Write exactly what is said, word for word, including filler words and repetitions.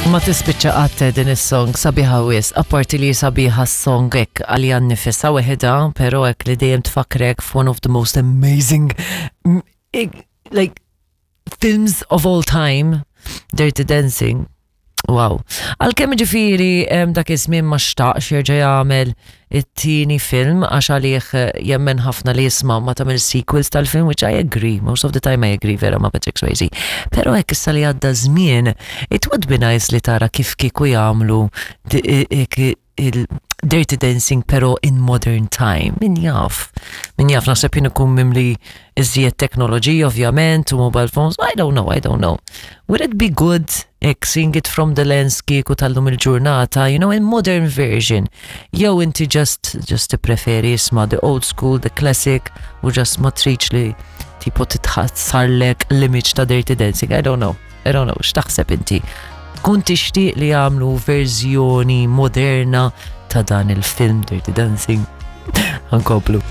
Ma tispiċċa qatt din is-song, sabiħa wisq, apparti li sabiħa s-song hekk għalija nnifisha weħidha, però hekk li dejjem tfakrek f'one of the most amazing mm, like films of all time, Dirty Dancing. Wow. Għalkemm ġifieri dak iż-żmien ma xtaqx jerġa' jagħmel it-tieni film għax għalih eh, jemmen ħafna li jisma' ma tagħmel sequels tal-film, which I agree, most of the time I agree vera ma' Patrick Swayze. Però hekk issa li għadda żmien, it would be nice li tara kif kieku jagħmlu il Dirty Dancing però in modern time. Min jaf? Min jaf, naħseb jien ikun mimli iżjed teknoloġija ovvjament u mobile phones. I don't know, I don't know. Would it be good hekk seeing it from the lens kieku tal-lum il-ġurnata, you know, in modern version? Jew inti just just preferi isma' the old school, the classic, u just ma tridx li tipo titħassarlek l-image ta' Dirty Dancing. I don't know. I don't know. X'taħseb inti? Tkun tixtieq li jagħmlu verżjoni moderna ta' dan il-film Dirty Dancing? Ħa nkomplu.